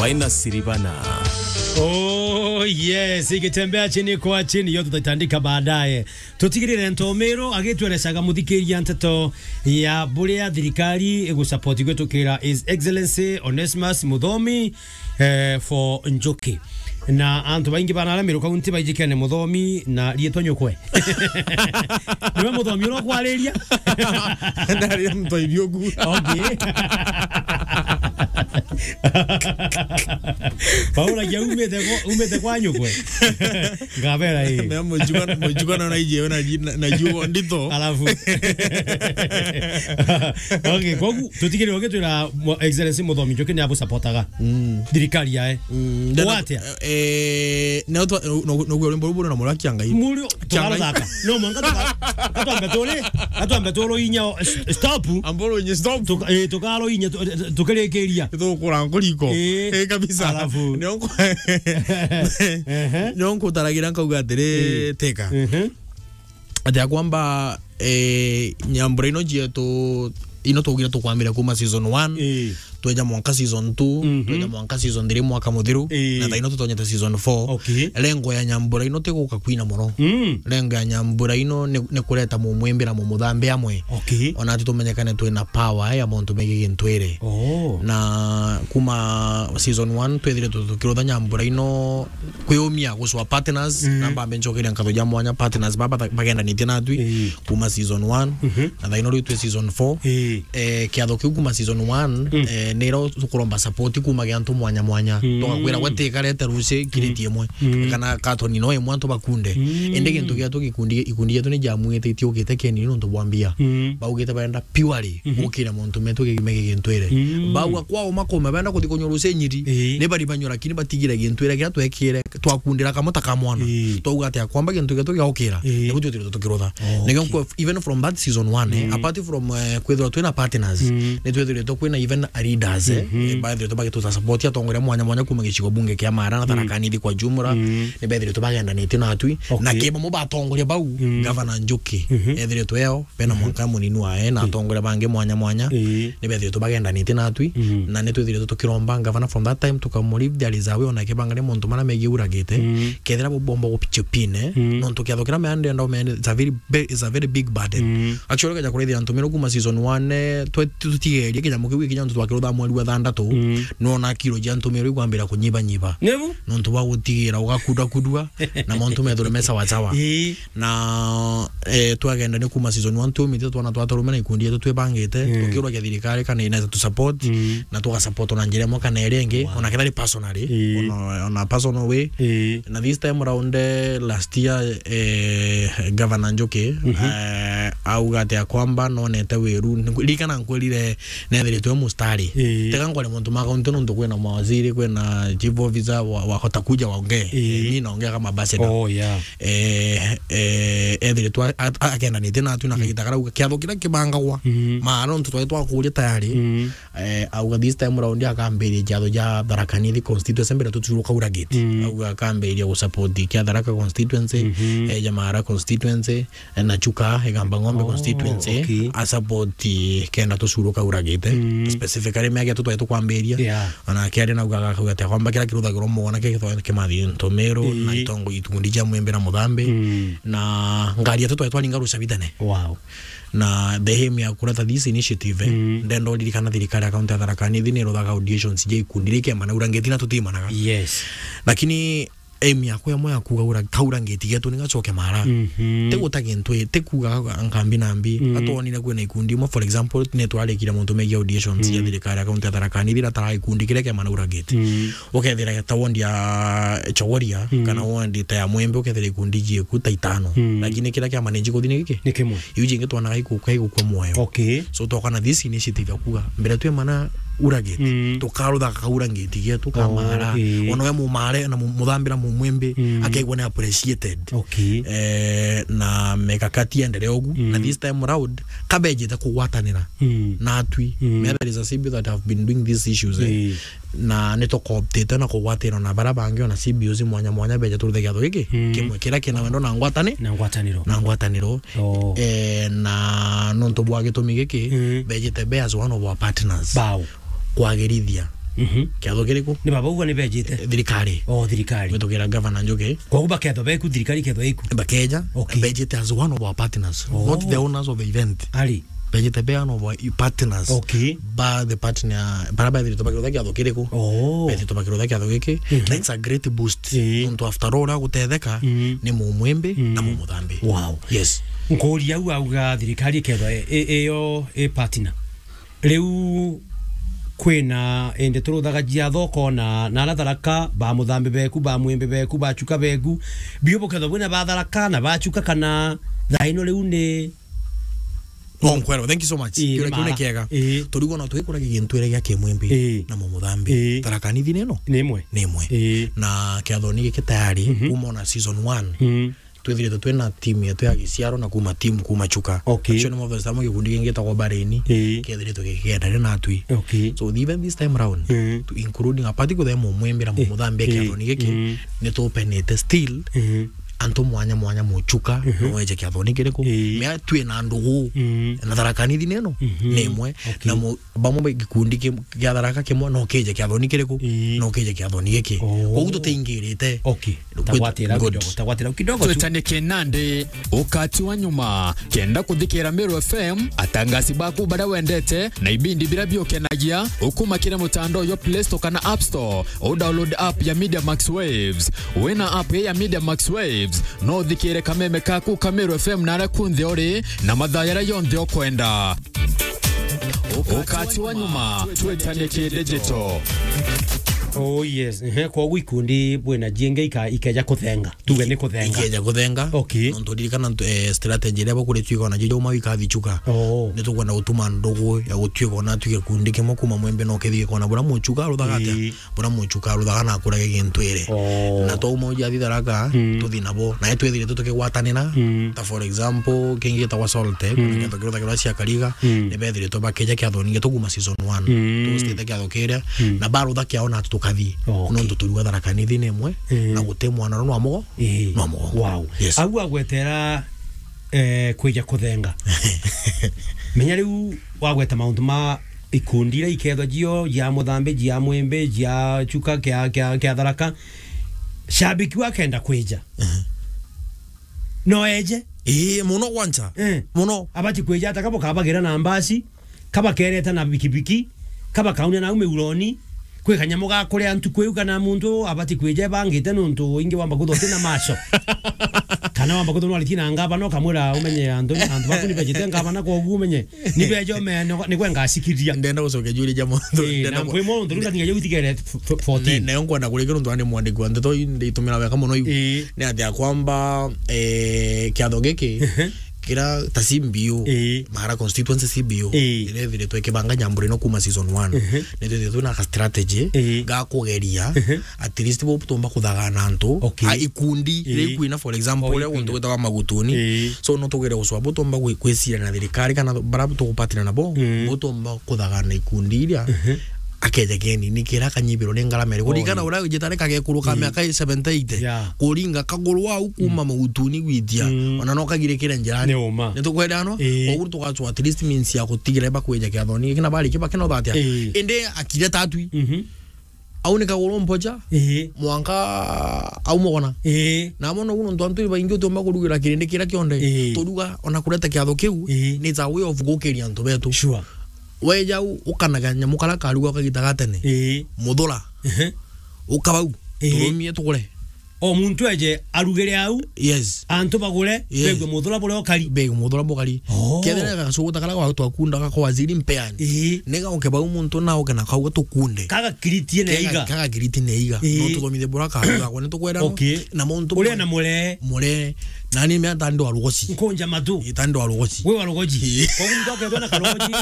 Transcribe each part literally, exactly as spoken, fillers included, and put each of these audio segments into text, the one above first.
Waina Siribana. Oh yes, ikitembea chini kwa chini, yo tutaitandika baadaye. Tutigirire Ntomero agitwerecaga muthikiria nteto ya buria thirikari igusupport gwitukira His Excellency Onesmus Muthomi, eh, for Njuki. Na antu baingi bana aria Meru County baijikene Muthomi na rietwa nyukwe. Niwe Muthomi uria ukwariria? Ndari mtoibi ugu. Okay. Paula, ja umite kwa, umite kwa nyukwe. Ngabera hii. Na mujugana, mujugana na ije na ji-, na, na jugo ndito. Alafu. Okay, kwa gu-, tutigire oge twira mo-, Excellency Muthomi Njuki ni abu supportaga. Mm. Thirikari yae. Mm, ndana- Watia? Eh, no twa-, no, no, no, rwimbo ruru na muraki angai. Murio, tukaruthaka. No, mwanka tuka-, katwambe turi, katwambe turu inya, o, s-, stop. Amboro nye stop. Tuka-, eh, tukaro inya, tu-, tu-, tukirikiria. Tukura nkuriko. Eh. Eh, kabisa. Alafu. Nio nku-, Ehe. Nio nkutaragira nkauga atiri, Eh. teka. Mhm. Ati ya kwamba, eh, nyambura ino cietu, ino twaugire tukwambira kuma season one, Ii. tweja mwanka season two, Mhm. tweja mwanka season three mwaka muthiru, Ii. na thaino tutonyete season four. Okay. Lengo ya nyambura ino ti guka kwina muno. Mm. Lengo ya nyambura ino ni, ni kureta mumwimbi na mumuthambi amwe. Okay. Ona ati tumenyekane twina power ya mauntu megi gintwire. Oh. Na kuma season one twithire tu-, tukirutha nyambura ino kwiumia gucwa partners, Mm. na mbambe ncokeria nkatho ja mwanya partners baba ta-, bagendanitie natwi Ii. kuma season one, Mhm. na thaino riu twi season four. Ii. Eh, kiatho kiu kuma season one, Mm. eh, niro tukuromba support kuma gia antu mwanya mwanya. Mm. Tugakwira gwe tikarete ruci kiriti Mm. imwe. Mm. Kana katoni no imwe antu bakunde. Mm. Indi gintu giatu gikundi, ikundi gietu ni jamwite itiukite keni nontu bwa mbia. Mm. Baugite barenda purely Mhm. gukira mauntu metu gi-, megi gintwire. Mm. Bauga kwao makome benda kuthi kunywa ruci nyiri, Ii. ni bari banywa, lakini batigire gintwire kiria twekire, twakundira kamwe ta ka mwana. Ii. Twauga atia kwamba gintu gietu giaukira, Ii. nigu twithiritwe tukirutha. Oh, Nikio okay. nkwe-, even from that season one, eh, Mm. apart from, eh, kwithirwa twina partners, Mm. ni twithiritwe kwina even a leaders, eh, Mhm. eh, baithiritwe bagituta support atongoria mwanya mwanya kuma gicigo bunge kia Mara na Mm. Tharaka Nithi kwa jumla, Mm. ni bethiritwe bagendanitie natwi. Okay. Na keba mo batongoria bau, Mm. Gavana Njuki, Mhm. ethiritwe eo, bena Mhm. mwanka munini wae, na Mm. atongoria bangi mwanya mwanya, Ii. ni bethiritwe bagendanitie natwi, Mhm. na ni twithiritwe tukiromba ngavana from that time, tukamu leave there is a way, ona kebangania mauntu maria megie uragite, Mm. kethira bo-, bomba gupichupine, Mm. nontu kiatho kiria meandenda umeende, it's a very be-, it's a very big burden. Mm. Actually, ukeja kurithia antu mero kuma season one, eh, twe-, tutigerie kinyamu kiu gikinya ntu twakirutha mweri wa thandatu, Mm. nona kiro cia antu mero ikwambira kunyibanyiba. Nibu? Nontu bwa gutigira ugakudakudua, na mauntu methire me sawa sawa. Ii. Na, eh, twagenda ni kuma season one twumite twana twatarume na ikundi yetu twibangite, Mm. tukirwa kia thirikari kana inaweza tu support, Mm. na tuga support na njira imwe kana iria ingi, Wow. ona kethira ni personally, Ii. ona, ona personal way. Ii. Na this time around, eh, last year, eh, Governor Njuki, Mhm. eh, auga ati ya kwamba nonete wiru. Ririkana nkwirire nethiritwe mustari. Ii. Tega nkore muntu ma kaunti nontu kwina mawaziri, kwina chief officer, wa-, wahota kuja waongee. Ii. Eh, mi naongea kama ambassador. Oh, yeah. Eh, eh, ethiritwe a-, a-, akendanite natwi na Mm. kagita karauga kiatho kiria kibangagwa. Mm. Maana nontu twari twakuria tayari. Mm. Eh, auga this time round akambiria kiatho ja Tharaka Nithi constituency mbere tuturuka uragiti. Mm. Auga akambiria gusupport kia Tharaka constituency, Mhm. eh, ja Mara constituency, eh, na Chuka, Igamba Ng'ombe Oh, constituency, okay. A support kenda tucuruka uragite. Mm. Specifically, miaka tu twari tukwambiria. Yeah. Ona kiari nauga agakauga ati akwamba kira kiruthagirwo mwana ke kitwa kimathi ntomero, Ii. na itongo itundi cia mwembe na muthambi. Mm. Na ngari yetu twari twaringa rucabithane. Wow. Na the aim ya kureta this initiative, eh, Mm. ndenda uririkana thirikari ya kaunti ya Tharaka Nithi ni iruthaga auditions ja ikundi ri kema na urangiti na tutimanaga. Yes. Lakini aim yakwa imwe ya kuuga ura-, kaura ngiti getu ni gacoke Mara. Mhm. Ti guta gintu i, ti kuuga nkambi na mbi. Mm. Atwonire kwina ikundi imwe, for example, ni twarikire mauntu megie auditions ya Mm. thirikari ya kaunti ya Tharaka Nithi, iria tara ikundi kiria kia Manaura Gate. Mm. Ukethira ta ward ya Chogoria, Mm. kana ward ta ya Mwembe, ukethira ikundi jieku ta itano. Mm. Lakini kiria kia manage kuthi ni giki? Ni kimwe. Iu jingi twanaga iku-, igukua mwoyo. Okay. So, twakana this initiative ya kuuga, mbere twi mana uragiti, Mm. tukarutha kaura ngiti getu ka Oh, Mara. Ii. Ona we mumare na mu-, muthambira mumwimbi, Mm. akaigua ni appreciated. Okay. Eh, na mikakati iendelee ugu. Mm. Na this time round, kabejite kugwatanira Mm. natwi. Mm. Me there is a C B O that have been doing these issues, eh. Ii. Na ni tukooptite na kugwatanira na bara bangi ona C B Os mwanya mwanya beje turuthe kiatho giki. Mm. Kimwe kiria kina wendo na ngwatani-, Na ngwataniro. Na ngwataniro. Oh. Eh, na nontu bwa gitumi giki, Mm. bejite be as one of our partners. Bao. Kwagirithia Mhm. Kiatho kiriku? Ni baba uga ni bejite? Thirikari. Oh, thirikari. Mitukira Governor Njuki. Koguo bakethwa beku, thirikari ikethwa iku? Bakeja, okay, bejite as one of our partners, oh, not the owners of the event. Ari. Bejite be one of our partners. Okay. Ba the partner, bara bethirite bakirutha kiatho kiriku? Oh. Bethirite bakirutha kiatho giki. Mhm. That's a great boost. Eh. Nontu after all, agutetheka, mm, ni mumwimbi, mm, na mumuthambi. Wow. Yes. Nkuria au auga thirikari ikethwa i-, i-, iyo i partner. Riu kwina indi turuthaga ciatho ukona na ara Tharaka, ba muthambi beku, ba mwimbi beku, ba chuka beku, biu bukethwa bwina ba Tharaka na ba chuka, kana thaa ino riu ni Oh, nkwero, thank you so much. Ii, kiuria kiu ni kiega. Ii. Turigo no twikuragia gintu ire gia kimwimbi, ii, na mumuthambi. Ii. Tharaka Nithi neno? Ni imwe. Ni imwe. Ii. Na kiathoni giki tayari, mhm, kuma ona season one. Mhm. Twithirite twina team yetu ya giciaro na kuma team kuma chuka. Okay. Actually, Moses Tamo gikundi kingi gitagwo Bareni. Ii. Kiethiritwe gikiendania natwi. Okay. So, even this time round, ii, to including a party kuthe mumwimbi na, ii, mumuthambi, ii, kiathoni giki, mm, ni tupenete still, ii, antu mwanya mwanya muchuka, mhm, no eje kiathoni kiriku. Ii. Mea twi na ndugu, mm, na Tharaka Nithi neno, mhm, ni imwe. Okay. Na mu-, bamwe ba gikundi ki-, kia Tharaka kimwe no kije kiathoni kiriku? Ii. No kije kiathoni giki. Oh. Koguo tutiingirite. Okay. Good, tagwatira good. Kidogo, tagwatira kidogo tu. Twetanie kinandi, ukati wa nyuma, kenda kuthikira Meru F M, atangasi baku baria wendete, na ibindi biria biukenagia, ukuma kiri mutandao yo Play Store kana App Store, u download app ya Media Max Waves. Wina app ya Media Max Waves, no uthikire kameme kaku ka Meru F M na aria kunthe uri, na mathaa jaria jonthe ukwenda. Ukati wa nyuma, twetanie ki digital. Oh yes, ehe, koguo ikundi bwina jingi ika-, ikeja kuthenga. Tuge ni kuthenga. Ikeja kuthenga. Okay. Nontu ririkana ntu-, eh, strategy iria bakuritue ikona jija uma ikathi chuka. Oh. Ni tukwenda gutuma ndugu ya gutuika ona tu gikundi kimwe kuma mwembe no kethie ikona bura muchuka ruthaga atia? Ii. Bura muchuka ruthaga na akurage gintu ire. Oh. Na twauma uja athi Tharaka, mm, tuthi nabo. Na twethire tu tukigwatanira. Mm. Ta for example, kingi gitagwa Solte, mm, kuna kiatho kiruthagirwa cia Kariga, mm, ni bethiritwe bakeja kiathoni gitu kuma season one. Mm. Tustite kiatho kiria, mm, na barutha kiao na tukathi. Okay. Nontu turiuga Tharaka Nithi ni imwe, mm, na guti mwana no amugo, ii, no amugo. Wow. Yes. Au agwetera, eh, kwija kuthenga. Menya riu wagweta mauntu ma ikundi iria ikethwa cio, cia muthambi, cia mwimbi, cia chuka, kia, kia, kia Tharaka. Shabiki wakenda kwija. Mhm. No eje. Ii, muno gwancha. Eh. Muno. Abati kwija ata kabo kabagira na mbasi, kabakereta na bikibiki, kabakaunia nau miuroni, kwi kanyamu ga kuria ntuku iu kana muntu abati kwija ebangite nuntu ingi wamba kuthote na macho. Kana wamba kuthonwa riti na ngavana ukamwira umenye antu, antu baku ni bejite ngavana koguo umenye. Ni bejo me, ni, ni kwe ngacikithia. Ndenda gucokia juria ja muntu. Ii, ndenda na ku-, mpwi mo ntu nda kinya utigere f-, f-, fourteen. Ne, ne nkwenda kurikia nuntu ni mwandiki wa ndeto ii nditumira wega muno iu. Ii. Ni ati akwamba, eh, kiatho giki, ehe, kira ta C B O, ii, Mara constituency C B O, ii, iria ithiritwe ikibanga nyambura ino kuma season one. Ehe. Ni twithirite twina ka strategy, ii, ga kugeria, ehe, at least bo tumba kuthagana antu, okay, a ikundi, ii, iri kwina, for example, oh, uria guntu gwitagwa Magutuni. Ii. So, no tugere gucwa bo tumba gwi-, gwiciria na thirikari kana bara tugupatana nabo, mm, bo tumba kuthagana ikundi iria, mhm, akeja keni ni kira kanyibiro ni ngarama iri. Oh, kuringana ii. Uria ujitare kagekuru ka, ii, miaka seventy, eighty. Yeah. Kuringa kaguru au kuma, mm, Magutuni gwitia. Mm. Ona no kagirikire njirani. Ni uma. Ni tukwenda no? Ii. Koguo tugacwa at least means ya gutigira bakweja kiathoni. Kina bari kibakena ubatia. Ii. Indi akire tatwi. Mhm. Au ni kaguru mpoja. Ii. Mwanka au mugona. Ii. Na mono guno ntu antu baingi utiumba kurugira kirindi kiria kionde. Ii. Turuga ona kureta kiatho kiu, ii, ni ta way of gukiria antu betu. Sure. Weja u-, ukanaga nyamu kara karuga kagita ga tene. Ii. Muthura. Ehe. Ukabau. Ii. Turumie tugure. O muntu eje arugire au. Yes. Antu bagure, yes, begue muthura buria ukari. Begue muthura bukari. Oh. Kethira gacuguta kara gwa twakundaga kwa waziri mpeani. Ii. Ni gauke bau muntu na uke na kauga tukunde. Kaga kiriti ne iga. Kaga kiriti ne iga. Ii. No tuthomithie bura karuga, kwa ni tukwera no. Okay. Na muntu uria na mure. Mure. Nani me ata ndo arugoci. Nkunja matu. Ita ndo arugoci. We warugoci. Ii. Kwa muntu akethwa na karugoci.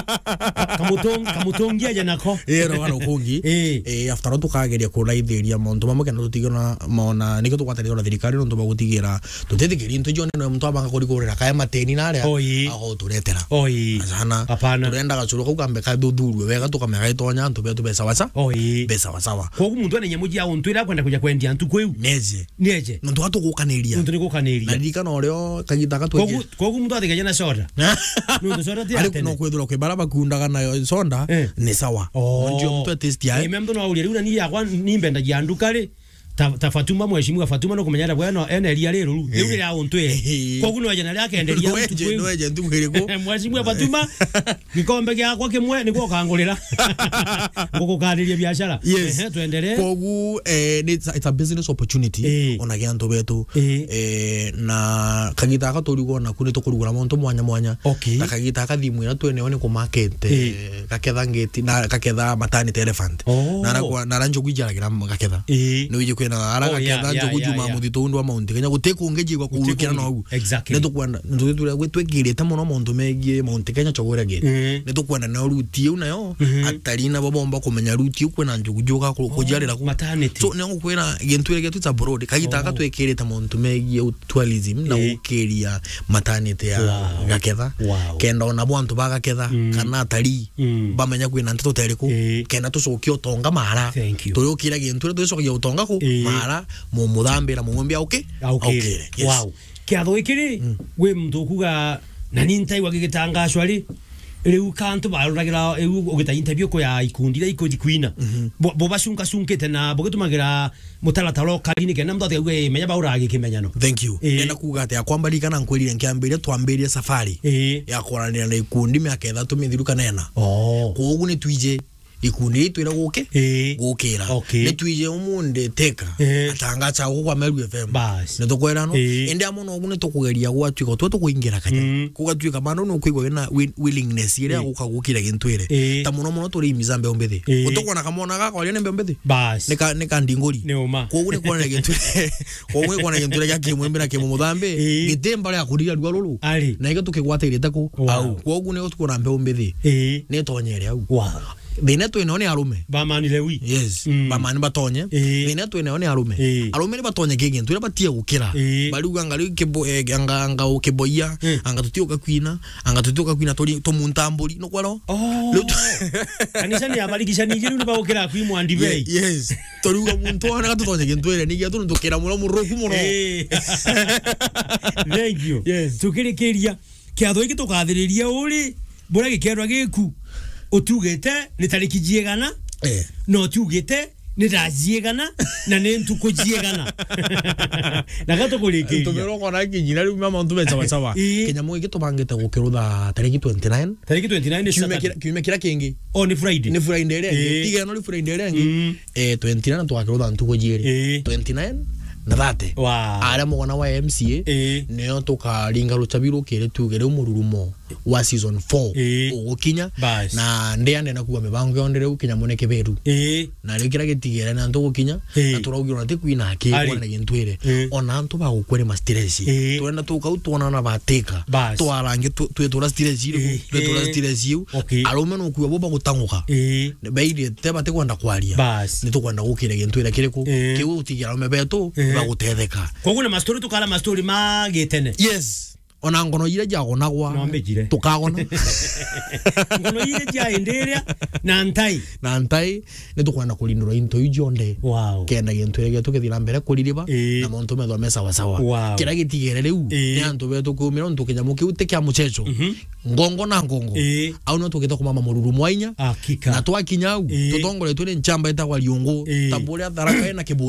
Kamutung-, kamutungia aja nako. Ii, ro warukungi. Ii. Ii, after all tukageria kuraithiria mauntu mamwe kenda tutige na maona, nikio tugwatanire na thirikari nontu bwa gutigira tutithikiri into ijo nene muntu abanga kurikurira kaya mateni na aria. Oi. Agoturetera. Oi. Sana. Hapana. Turenda gacuru kau kambe kathuthurwe wega tukamenya gaitonya antu betu be sawa sawa. Oi. Be sawa sawa. Koguo muntu ena nyamu cia untu iria akwenda kuja kwendia ntuku iu. Neje. Nieje. Nontu gatugukaniria. Nontu ni gukaniria. Na na urio kagita aka tweke. Kogu, kogu muntu atikaje na soda. Nuntu soda ti ya tene. No kwithirwa kwi bara bakundaga na soda, eh, ni sawa. Oh. Ndio muntu atesti ai. Ime muntu no aurie, riu na ni yakwa ni mbendagia nduka ri. Ta, ta Fatuma, mheshimiwa Fatuma, no kumenya bwena ene ria riru. Riu, eh, ria untu e. Eh. Kogu no eje na ria kenderia. No eje, no eje ntuku iriku? Mheshimiwa Fatuma, gikombe giakwa kimwe niguo ukangurira. Ngugukariria biashara. Yes. Ehe, tuendelee. Kogu, eh, it's a, it's a business opportunity. Eh. Ona gia antu betu. Eh. Eh, na kagita aka turigwa naku ni tukurugura mauntu mwanya mwanya. Okay. Na kagita aka thimu ira twene yo ni ku market, eh, gaketha ngeti, na gaketha maternity elephant. Oh. Na ara kwa, na ara njogu ijaragira gaketha. Eh. Ni wiji kwina ara gaketha njogu juma muthitu undu wa Mount Kenya. Guti kungi jigwa kuukira nogu. Exactly. Ni tukwenda, ni tukwenda, gwi twikirite muno mauntu megie Mount Kenya Chogoria Gate. Eh. Ni tukwenda nayo route iu nayo, mhm, atari nabo bomba kumenya route iu kwina njogu juga ku-, kujarira ku. Maternity. So, ni ngukwira gintu iri getu it's abroad. Kagita aka twikirite mauntu megie tourism na gukiria maternity ya Gaketha. Wow. Kenda ona bo antu ba Gaketha, mm, kana atari, mm, bamenya kwina nteto teriku, eh, kenda tucokie utonga mara. Thank you. Turiukira gintu ria turicokia utonga ku, eh, mara, mu-, muthambira, mumwambia, okay? Aukire. Aukire. Yes. Wow. Kiatho giki ri, mm, gwi muntu ukuga, na ni ntaigua gigitangacwa ri, riu ka antu baruragira, riu ugita interview ku ya ikundi iria ikuthi kwina. Mhm. Bo, bo bacungacunkite na bugitumagira mutaratara ukari ni kenda muntu atiga kuuga, "Ii, menya bauraga gikimenyano." Thank you. Ii. Nenda kuuga ati akwa mbarikana nkwirire nkiambiria, twambirie safari, ii, ya kwaranira na ikundi miaka ithatu mithiru kana ina. Oh. Kwogu ni twije ikundi ii twira guki-, ii, gukira. Okay. Ni twije umundi teka, ii, atangacha guku kwa Meru F M. Bas. Ni tukwira no? Ii. Indi amwe nogu ni tukugeria gwatuika twe tukuingira kanya. Mm. Kugatuika bando ni ukwigua wina wi-, willingness iria, ii, guka gukira gintu iri. Ii. Ta muno muno turi imiza mbeu mbithi. Ii. Utukwona kamwana gaka waria ni mbeu mbithi? Bas. Ni ka, ni ka ndinguri. Ni uma. Kwogu ni kwona gintu, kwogu ni kwona gintu iria kia kimwimbi na kimumuthambi. Ii. Gitimba ria kuriria rua ruru. Ari. Na ikio tukigwatairite ku? Wow. Au. Kwogu ni utukwona mbeu mbithi. Ii. Ni tonyere au. Wow. Thina twinayo ni arume. Bamani Lewi. Yes. Mm. Bamani batonye. Ii. Thina twinayo ni arume. Ii. Arume ni batonye ki gintu, ni batie gukira. Ii. Bariuga anga riu kibo-, eh, anga, anga ukiboia, mm, anga tutiuka kwina, anga tutiuka kwina turi tumunta mburi. No kwero? Oh. Riu tu- Kanisa ni abarikishanirie riu ni bagukira kwi mwandibei. Ye-, yes. Turiuga muntu ona tutonye gintu ere, ni gia tuntu kira muno muruku muno. Ii. Thank you. Yes. Tukirikiria. Kiatho giki tukathiriria uri, buria gikeerwa giku, utiugite ni tariki jiigana, eh, na utiugite ni thaa jiigana, na ni ntuku jiigana. Na ga tukurikiria. Tumirwo kona kinyira riu mama untu be sawa sawa. Ii. Kinyamo giki tubangite gukirutha tariki twenty-nine. Tariki twenty-nine ni Saturday. Kiumia kira, kiumia kira kingi. Oh, ni Friday. Ni Friday iria ingi. Ii. Tiga ino ni Friday iria ingi. Mm. Eh, twenty-nine twakirutha ntuku jiiri. Ii. Twenty-nine na thirty. Wow. Aria mugana wa M C A, ii, nio tukaringa ruchabi rukiri tuge riu mururumo wa season four, ii, ugukinya. Bas. Na ndiane na kuga mibango yonthe riu kinya mune kiberu. Ii. Na riu kiria gitigere ni antu gukinya, ii, na turaugirwa na ti kwina aki, ari, kwana gintu iri. Ii. Ona antu bagukwere ma stress. Ii. Twenda tukau twonana batika. Bas. Twarangi tu-, twitura stress iri, ii, twitura, ii, stress iu. Okay. Arume no kuga bo bagutanguka. Ii. Bairite batikwenda kwaria. Bas. Ni tukwenda gukira gintu ira kiriku? Ii. Kiu utigira arume betu, ii, bagutetheka. Koguo na mastori tukara mastori ma gitene. Yes. Ona ngono iria jagonagwa, no mbijire, tukagona. Ngono iria ja indi iria na ntai. Na ntai, ni tukwenda kurindura into iu jonthe. Wow. Kenda gintu iria gitu kithira mbere kuririba, ii, na mauntu methwa me sawa sawa. Wow. Kiria gitigere riu, ii, ni antu betu kumira untu kinyamu kiu ti kia muchecho. Mhm. Ngongo na ngongo. Ii. Au no tugite kumama mururu mwainya. Hakika. Na twakinya au, ii, tutongoretwe ni nchamba itagwa Riungu. Ii. Ta buria Tharaka ina kibu-